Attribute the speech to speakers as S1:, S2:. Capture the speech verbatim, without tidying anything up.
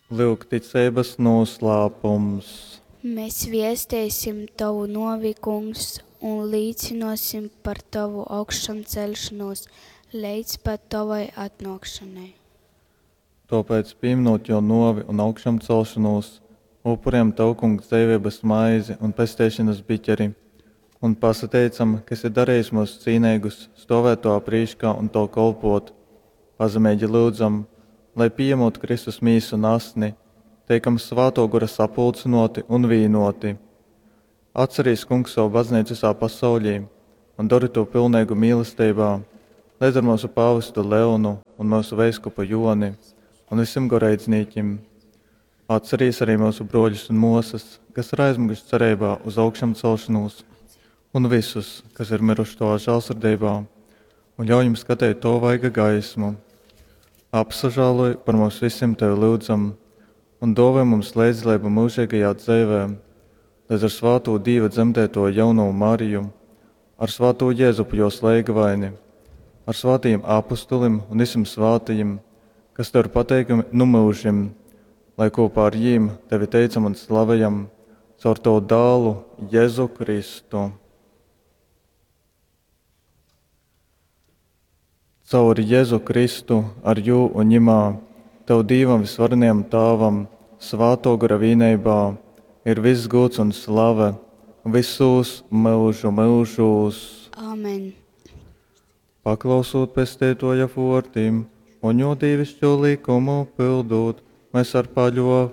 S1: Lyuk ticeibas noslēpums.
S2: Mēs viesteisim tavu nuovi, Kungs, un līcynuosim par tavu augšamceļšonūs leidz pat tovai atnuokšonai.
S1: Tōpēc, pīmynūt Jō nōvi un augšamcelšonūs, upurejam Tev, Kungs, dzeiveibas maizi un pesteišonas biķeri un pasateicam, ka esi darejis myus cīneigus stōvēt Tovā prīškā un Tev kolpōt. Pazemeigi lyudzam, lai, pījamūt Kristus mīsu un asni, teikam Svātō Gora sapulcynōti un vīnōti. Atcerīs, Kungs, sovu bazneicu vysā pasauļī un dori tū pilneigu mīlesteibā, leidz ar myusu pāvestu Leonu un myusu veiskupu Jōni un vysim goreidznīkim. Atcerīs arī myusu brōļus un mōsas, kas ir aizmiguši cereibā uz augšamcelšanūs, un vysus, kas ir myruši Tovā žālsirdeibā, un ļauj jim skateit Tova vaiga gaismu. Apsažāloj par mums vysim Tevi lyudzam, un dōvoj mums leidzdaleibu myužeigajā dzeivē, leidz ar svātū Dīva dzemdēto jaunovu Mariju, ar svātū Jēzupu jos leigavaini, ar svātajim apustulim un vysim svātajim, kas Tev ir pateikami nu myužim, lai kopā ar jīm Tevi teicam un slavejam caur Tavu dālu Jēzu Kristu. Caur Jēzu Kristu, ar jū un ņimā, Tev Dīvam vysvarenajam Tāvam, Svātō Gora vīneibā, ir viss gūds un slave vysūs myužu myužūs.
S2: Āmen.
S1: Paklausūt Pesteitoja vōrdim un jō dīvišķo likumu pildūt, mēs ar paļōveibu